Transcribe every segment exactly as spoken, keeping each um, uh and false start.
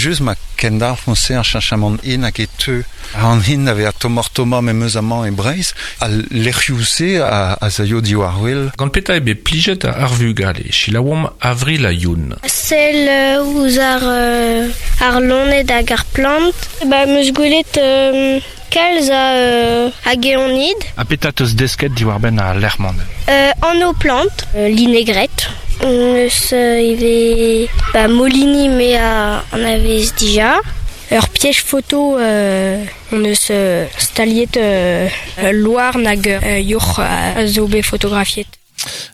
just ma kendalc'h se ar cheñchamant hin hag e teu an hin da vezañ tommoc'h-tommañ memes amañ e Breizh, al lec'hioù-se a, a zaio diwar wel. Gant petra eo bet plijet ar vugale, selaouomp Avril ha Youn. Sell ouzh ar, ar loened hag ar plant. Ba, 'm eus gwelet euh, kalz a, euh, a geonid. Ha petra teus desket diwar-benn ar lec'h-mañ? Euh, anv plant, euh, linegret. Eus euh, ivez ba, Molini me a anavez dija. Ur piège photo euh, on eus euh, staliet euh, loar nag euh, yourc'h a zo bet fotografiet.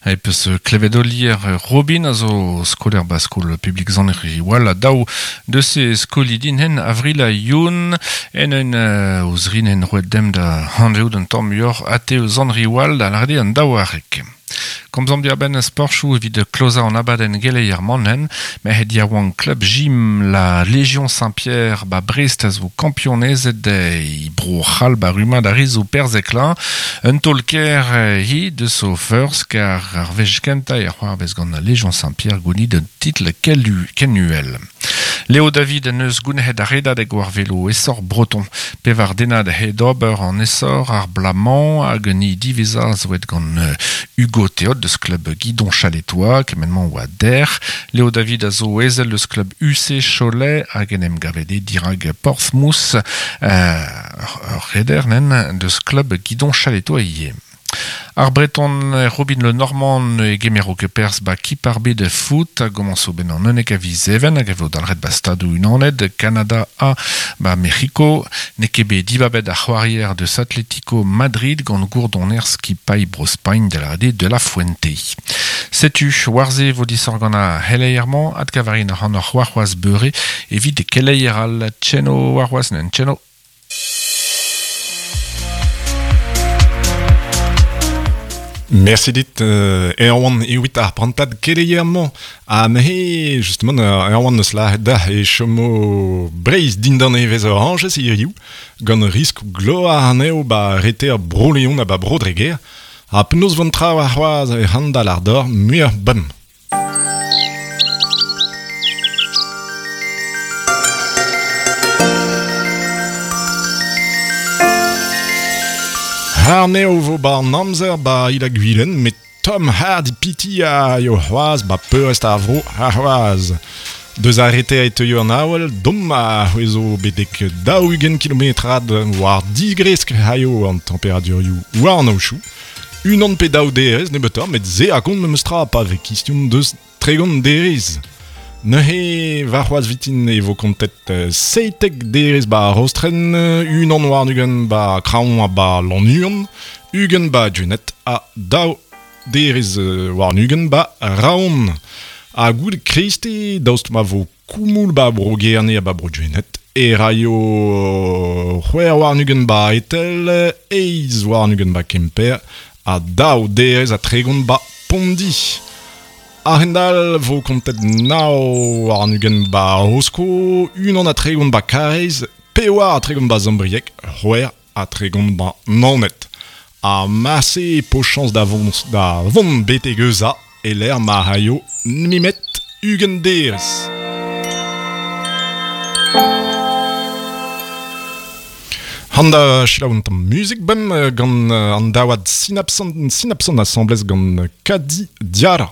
E peus klevet Olier Robin a zo skolaer ba skol publik Sant-Riwal a daou deus e skolidi hen Avril ha Youn en un uh, ouzh rin en roet dem da hanveout un tamm muioc'h ate eus Sant-Riwal da larde an daou arek. Komzomp diarbenn sporchoù evit klozañ an abadenn geleier mannen, merc'hed yaouank klub gym la Légion Saint-Pierre ba Brest a zo kampionezed e bro c'hall ba rummad ar re zo perzheklañ. Un taol-kaer hi deus o ferzh kar ar wech kentañ e c'hoarvez gant la Légion Saint-Pierre gounit un titl kenuel. Léo David en eus gounezet ar redadeg war velo essor breton. Pevar denad he d'ober an essor ar blamañ hag un i diwezhañ zo gant Hugo Théot deus klub Guidon Chaletois, kement-mañ oa der. Léo David a zo ezel deus klub U C Cholet hag en em gavet e dirag Portsmouth euh, ur reder nen deus klub Guidon Chaletois ivez. Ar Breton Robin Le Normand e gemero ket perzh ba kip ar bed foot a gomañso ben an unnek a viz even hag a vo dalc'het ba stadoù unanet, Kanada ha ba Mec'hiko. N'eo ket bet dibabet ar c'hoarier deus Atlético Madrid gant gourdoner skipailh Bro-Spagn da lâret de la Fuente. Setu, war-se vo disoc'h gant ar c'heleier-mañ, adkavarin ac'hanoc'h warc'hoazh beure evit keleier all tcheno warc'hoazh nen tcheno. Merci dit euh, Erwan ewit ar prantad keleier-mañ. Ha me, justement, Erwan eus lâret da e chomo Breizh dindan evezh orañjez hiriv, gant risk gloar anezho ba reter Bro-Leon ha ba Bro-Dreger. Ha penaos vont tra war c'hoazh e handal ar dor muioc'h bem. Arneo vo ba an amzer ba il a gwilen, met Tom Hardy piti a yo c'hoaz ba peurrest ar vro ar c'hoaz. Deus arrete a teuio an awel, dom a c'hwezo bedek daou-ugent kilometrad war digresk haio an temperadurioù war an aochou. Unan pe daou derez nebeutoc'h, met se a gont memes tra pa vez kistion deus tregont derez. Neuze war c'hoaz vitin e vo kontet seitek derez ba Rostren, unan war ugent ba Kraoñ ha ba Lannuon, ugent ba Junet ha daou derez war ugent ba Raon. Ha goude kreiste, daoust ma vo koumoul ba bro Gerne ha ba bro Junet, e raio c'hwec'h war ugent ba Etel, eizh war ugent ba Kemper, ha daou derez ha tregont ba Pondi. A-hend-all vo kontet nav war an ugent ba Rosko, unan ha tregont ba Karaez, pevar ha tregont ba Zambrieg, c'hwec'h ha tregont ba Naoned. Ha marse po chañs da vont da vont betek Eusa e lec'h ma raio nemet ugent derez. Handa selaou un tamm muzik bem gant an daouad Synapson, Synapson asambles gant Kadi Diara.